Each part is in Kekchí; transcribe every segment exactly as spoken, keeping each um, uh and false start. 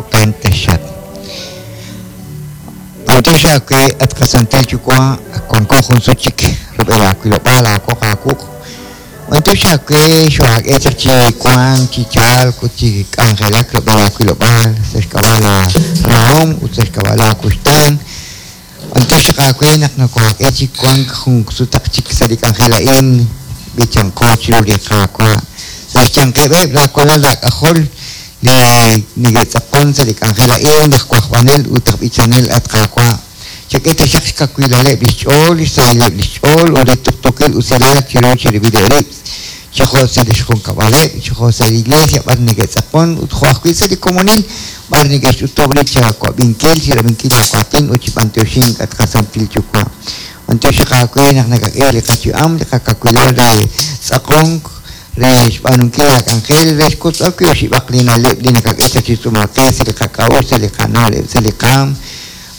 Jo'kan taxaq. B'antiox aawe at qasantil Yuwa' wanko jun sut chik rub'el aawilob'aal aawoq aawuq'. B'antiox aawe xo'aak'e chaq chi wank chi chalk ut chi k'anjelak rub'el aawilob'aal sa' xk'ab'a' la rahom ut sa' xk'ab'a' laakuxtaan. B'antiox aawe naq noko'aak'e chi wank jun sutaq chik sa' li k'anjel a'in b'ichanqo chiru li Qaawa'. Sa' xyanqeb'eb' laawalal laak'ajol li neke'tz'aqon sa' li k'anjel a'in laj wajb'anel ut aj b'ichanel at Qaawa'. Chak'e taxaq xkawilaleb' li xch'ool, xsahileb' li xch'ool ut li tuqtuukil usilal chiru chirib'ileb' rib'. Chi jo' sa' li xjunkab'aleb', chi jo' sa' li iglesia b'ar neke'tz'aqon ut jo' ajwi' sa' li komonil b'ar neke'xch'utub' rib' chawab'inkil, chirab'inkil laawatin ut chi b'antioxink at qasantil Yuwa'. B'antiox aawe naq nakak'e li qayu'am, li qakawilal re tz'aqonk, re xb'aanunkil laak'anjel, re xkotz'ok wi' oxib'aq li na'leb' li nakak'e chaq chi tz'uumal qe sa' li qak'a'uxl, sa' li qana'leb', sa' li qaam.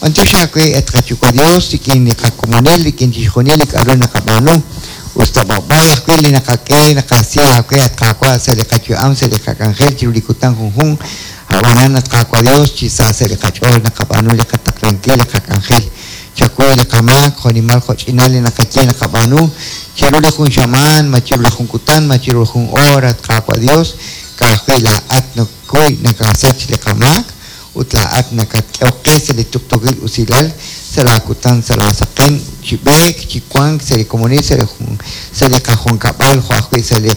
B'antiox aawe at qaYuwa' Dios, rik'in li qakomonil, rik'in chixjunil li k'a'ru naqab'aanu. Us ta b'ab'ay ajwi' li naqak'e, naqasi aawe at Qaawa' sa' li qayu'am, sa' li qak'anjel chiru li kutan junjunq. Ab'anan at Qaawa' Dios, chi sa sa' li qach'ool naqab'aanu li qataqlankil, li qak'anjel. Chakuy li qamaak, jo'nimal jo'ch'inal li naqaye naqab'aanu. Chiru li jun xamaan, ma chiru li jun kutan, ma chiru li jun hora at Qaawa' Dios, ka'ajwi' laa'at nakuy nakasach li qamaak ut laa'at nakatk'ehok qe sa' li tuqtuukil usilal sa' laakutan, sa' laasaqen, chi b'eek, chi wank sa' li komonil, sa' li jun, sa' li qajunkab'al, jo' ajwi' sa' li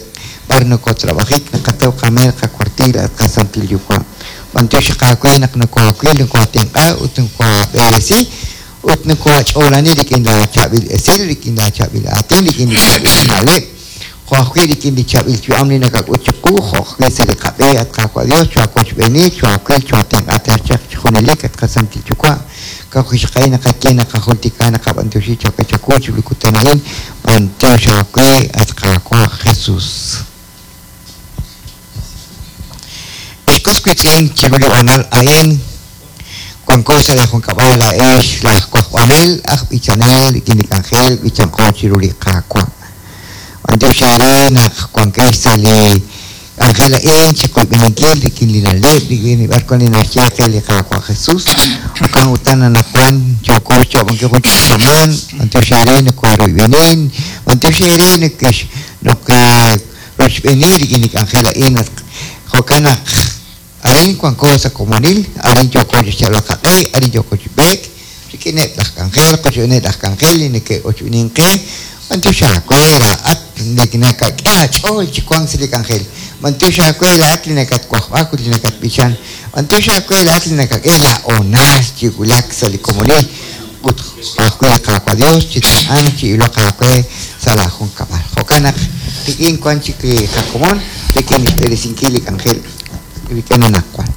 b'ar nokotrab'ajik, naqataw qameel qakuartil at qasantil Yuwa'. B'antiox aawe naq nokoawil, nokoatenq'a ut nokoab'eresi ut nokoach'oolani rik'in laachaab'il esil, rik'in laachaab'il aatin, rik'in li chaab'il na'leb'. Jo' ajwi' rik'in li chaab'il yu'am li nakak'ut chiqu, jo' ajwi' sa' li qab'e at Qaawa' Dios, choawochb'eeni, choawil, choatenq'a chaq chi junelik at qasantil Yuwa'. Ka'ajwi' naqaye naqajultika naqab'antioxi chak'e chawu chiru li kutan a'in, b'antiox aawe at Qaawa' Jesus. Ex was wiitz'in chiru li b'anal a'in, wanko sa' li junkab'al laa'ex laj wajb'anel, aj b'ichanel, rik'in li k'anjel b'ichanqo chiru li Qaawa'. B'antiox eere naq wankex sa' li k'anjel a'in chi qoyb'eninkil rik'in li na'leb', rik'in li b'ar wan li naxye qe li Qaawa' Jesus. Jo'kan utan anaqwan yooko xyoob'ankil jun chik xamaan, b'antiox eere nokooroyb'enin, b'antiox eere nekex nokerochb'eni rik'in li k'anjel a'in jo'kan naq arin wanko sa' komonil, arin yooko chi xyalb'al qaq'e, arin yooko chi b'eek, rik'ineb' laj k'anjel, qochb'eeneb' laj k'anjel li neke'ochb'enin qe, b'antiox aawe laa'at nakak'e aach'ool chi wank sa' li k'anjel. B'antiox aawe laa'at li nakatwajb'ak ut li nakatb'ichan. B'antiox aawe laa'at li nakak'e laa'oonal chi wulak sa' li komonil ut ajwi' li Qaawa' Dios chi tenq'ank chi iloq aawe sa' laajunkab'al. Jo'kan naq rik'in wan chik li qakomon, rik'in xb'eresinkil li k'anjel rik'in anaqwan.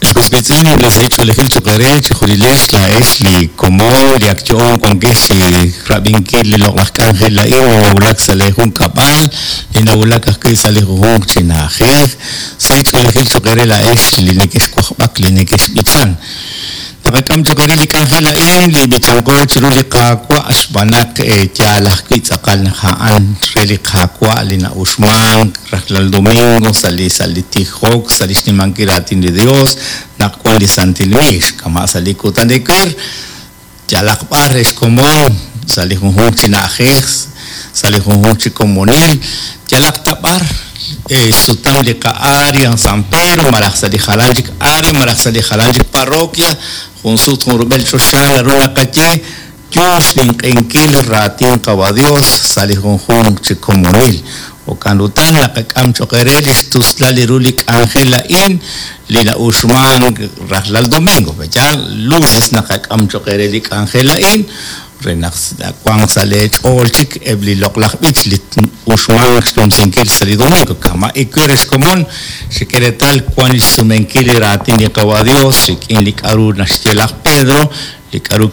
Xk'usb'itz'in li sahil ch'oolejil choq' eere chi junilex laa'ex li komon li ak yo'on wankex chi rab'inkil li loq'laj k'anjel a'in li nawulak sa' li junkab'al, li nawulak ajwi' sa' li junjunq chi na'ajej. Sahil ch'oolejil choq' eere laa'ex li nekexwajb'ak, li nekexb'ichan. Naqak'am choq' eere li k'anjel a'in li b'ichanqo chiru li Qaawa' xb'aan naq yaal ajwi' tz'aqal naq a'an re li Qaawa' li na'uxmank rajlal domingo sa' li sa' li tijok, sa' li xnimankil raatin li Dios, naq wan li Santil Miix, kama' sa' li kutan ewer, yalaq b'ar re xkomon, sa' li junjunq chi na'ajej, sa' li junjunq chi komonil, yalaq ta b'ar sutam li qa-área San Pedro, malaj sa' li jalan chik área, malaj sa' li jalan chik parroquia, jun sut jun rub'el choxa naru naqaye yo xninq'enkil raatin Qawa' Dios sa' li junjunq chi komonil. Jo'kan utan naqak'am choq' eere li xtuslal li ru li k'anjel a'in li na'uxmank rajlal domingo. Ya lunes naqak'am choq' eere li k'anjel a'in re naq wanq sa' li ch'ool chik eb' li loq'laj b'ich li uxmank xnumsinkil sa' li domingo. Kama' ewer xkomon xik'e reetal wan li xsumenkil li raatin li Qawa' Dios rik'in li k'a'ru naxye laj Pedro, li k'a'ru